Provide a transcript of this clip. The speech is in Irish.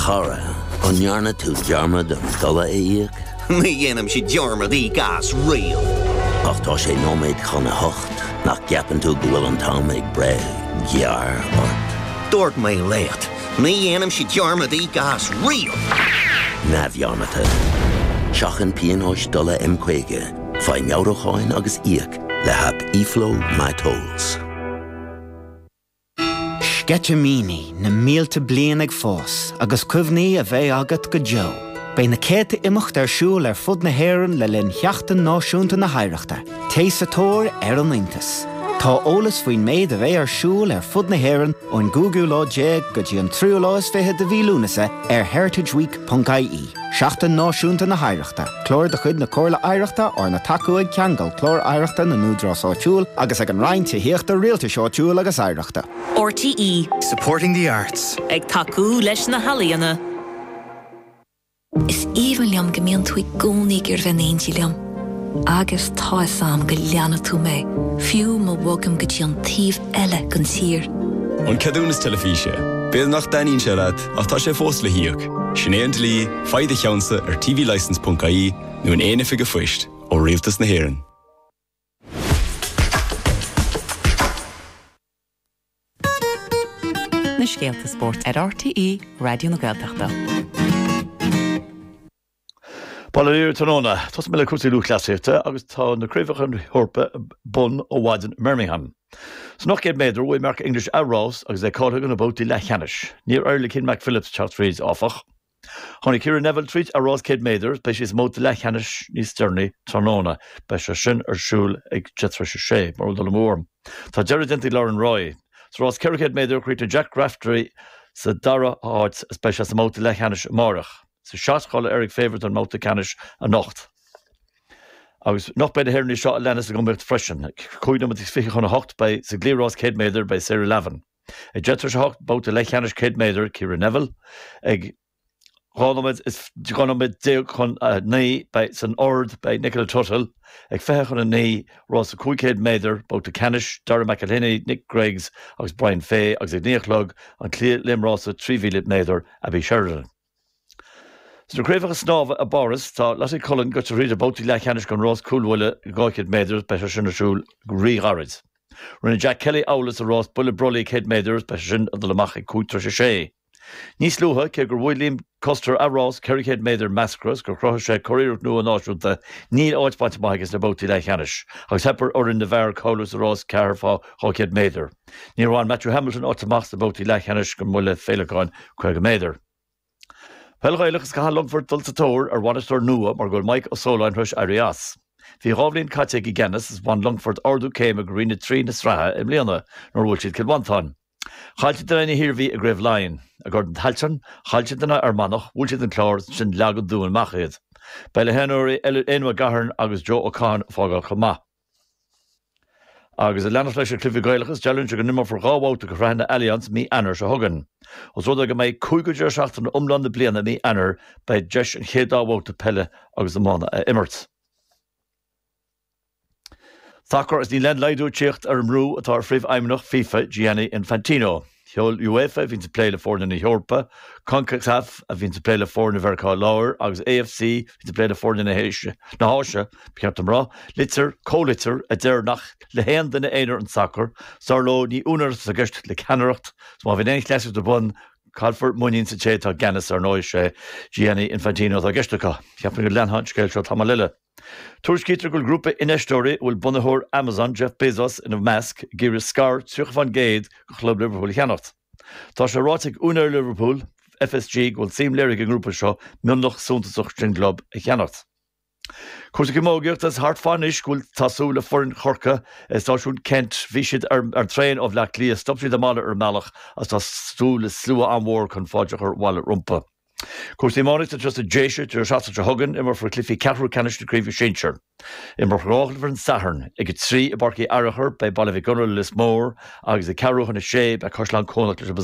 chara, an ndearna tú dearmad an dola a íoc? Ní dhéanaimse dearmad íoc as riamh. Ach tá sé nóiméad chun a hocht, nach gceapann tú go bhfuil an t-am ag breith gearr ort? Dúirt mé leat, ní dhéanaimse dearmad íoc as riamh! Neamhdhearmadta. Seachain pionóis dola M50, faigh meabhrúcháin agus íoc le haip eFlow MyTolls. Sceitimíní na mílte bliain ag fás agus cuimhní a bheidh agat go deo. Beidh na céadta imeacht ar siúl ar fud na hÉireann le linn Sheachtain Náisiúnta na hOidhreachta. Téigh sa tóir ar an iontas! Tá eolas faoin méid a bheidh ar siúl ar fud na hÉireann ón gcúigiú lá déag go dtí an tríú lá is fiche de mhí Lúnasa ar heritageweek.ie. Seachtain Náisiúnta na hOidhreachta, clár de chuid na Comhairle Oidhreachta arna tacú ag Ceangal Clár Oidhreachta na nÚdarás Áitiúil agus ag an Roinn Tithíochta, Rialtais Áitiúil agus Oidhreachta. RTÉ. Supporting the arts. Ag tacú leis na healaíona. Is aoibhinn liom go mbíonn tú i gcónaí ag iarraidh bheith in éindí liom. Agus tá 'fhios a'm go leanfaidh tú mé, fiú má bhogaim go dtí an taobh eile den tír. An ceadúnas teilifíse. B'fhéidir nach dtaitníonn sé leat, ach tá sé fós le híoc. Sin é an dlí, faigh do cheannsa ar tvlicence.ie nó in aon oifig an phoist ó Rialtas na hÉireann. Na scéalta spóirt ar RTÉ Raidió na Gaeltachta. Bail ó Dhia oraibh tráthnóna. Tosóidh mé le cúrsaí lúthchleasaíochta agus tá na Craobhacha na hEorpa ar bun ó mhaidin i mBirmingham. San 800 méadar, bhuaigh Mark English a rás agus é cáilithe do na babhtaí leathcheannais. Níor éirigh le Cian McPhillips teacht fríd, áfach. Tháinig Ciara Neville tríd a rás 100 méadar, beidh sí sa mbabhta leathcheannais níos deireanaí tráthnóna. Beidh sé sin ar siúl ag 6:30, mura bhfuil dul amú orm. Tá deireadh déanta ag Lauren Roy. Sa rás 400 méadar, chríochnaigh Jack Raftery sa dara háit is beidh sé sa mbabhta leathcheannais amárach. Sa shot, cháiligh Eric Favour don mbabhta ceannais anocht. Agus anocht beidh na hÉireannaigh seo a leanas ag iomaíocht freisin. 5 nóiméad is 20 chun 8 beidh sa gcliathrás 100 méadar beidh Sarah Lavin. Ag 10 tar éis 8, babhta leathcheannais 100 méadar, Ciara Neville. Ag 12 nóiméad is 12 nóiméad chun 9 beidh san ard beidh Nicola Tuthill. Ag 20 chun 9, rása 500 méadar, babhta ceannais, Darragh McElhinney, Nick Greggs agus Brian Fay agus ag 9 a chlog an cliathléimrása 3,000 méadar, Abbie Sheridan. Sna craobhacha snámha i bPáras, tá Lottie Cullen gaibhte thríd na babhtaí leathcheannais don rás cúlbhuille 200 méadar, beidh sé sin ar siúl go rí-ghairid. Rinne Jack Kelly amhlaidh sa rás buille brollaigh 100 méadar, beidh sé sin ag dul amach ag 5 tar éis a sé. Níos luaithe, cé gur bhuaigh Liam Custer a rás 400 méadar measctha is gur chruthaigh sé curiarracht nua náisiúnta, níl áit bainte amach aige sna babhtaí leathcheannais, agus theip ar fhoireann na bhfear cáiliú sa rás 4 fá 200 méadar. Níor bhain Matthew Hamilton áit amach sna babhtaí leathcheannais don mbuille féileacáin 50 méadar. Peil Ghaelach is caithfidh Longfort dul sa tóir ar bhainisteoir nua mar go bhfuil Mike Ó Sóláin tar éis éirí as. Bhí dhá bhliain caite aige i gceannas is bhain Longfort ardú céime go Roinn 3 na sraithe i mbliana nuair a bhuail siad Cill Mhantáin. Chaill siad in aghaidh na hIarmhí i gCraobh Laighean. I gCorn Tailteann, chaill siad in aghaidh Fhear Manach, bhuail siad an Clár is ansin leag an Dún amach iad. Beidh na himreoirí Éanna Mac Gabhann agus Joe Ó Catháin ag fágáil chomh maith. Agus ag leanacht leis na cluichí Gaelacha, dealraíonn sé go n-imreofar dhá bhabhta de shraitheanna Allianz mí Eanáir seo chugainn. Os rud é go mbeidh cúigiú deireadh seachtaine iomlán na bliana i mí Eanáir, beidh deis an chéad dá bhabhta peile agus iomána a imirt. Sacar is níl aon laghdú ag tíocht ar an mbrú atá ar phríomhfheidhmeannach FIFA, Gianni Infantino. Sheol UEFA, a bhíonns ag plé le foirne na hEorpa, Concacaf, a bhíonns ag plé le foirne Mheiriceá Láir, agus AFC, a bhíonns ag plé le foirne na hÁise, ba cheart dom rá, litir, comhlitir, a deir nach le haon duine aonair an sacar, 's dar leo ní úinéireacht atá i gceist le ceannaireacht, 's má bhíonn aon chleasaíocht ar bun, caillfear muinín sa té atá i gceannas, ar ndóigh, sé Gianni Infantino atá i gceist acu. Cheapfainn go leanfadh an scéal seo tamall eile. Tuairiscítear go bhfuil grúpa infheisteoirí a bhfuil bunaitheoir Amazon, Jeff Bezos, ina measc, ag iarraidh scair 30% de chlub Liverpool a cheannacht. Tá sé ráite ag úinéir Liverpool, FSG, go bhfuil suim léirithe ag an ngrúpa seo mionlach suntasach den gclub a cheannacht. Cúrsaí camógaíochta is thart fá anois go bhfuil tá súil le foireann Chorcaí i stáisiún Kent. Bhí siad ar an traein ó Bhleá Cliath, stop siad i mbaile ar an mbealach agus tá súil le slua an-mhór chun fáilte a chur abhaile rompu. Cúrsaí iománaíochta anseo sa Déise, deireadh seachtaine seo chugainn, imreofar cluichí ceathrú ceannais na Craoibhe Sinsir. Imreofar dhá chluiche ar an Satharn. Ag a trí i bPáirc Uí Fhearachair beidh Baile Mhic Gonair le Lios Mór agus ag ceathrú chun a sé beidh Caisleán Cuanach leis an.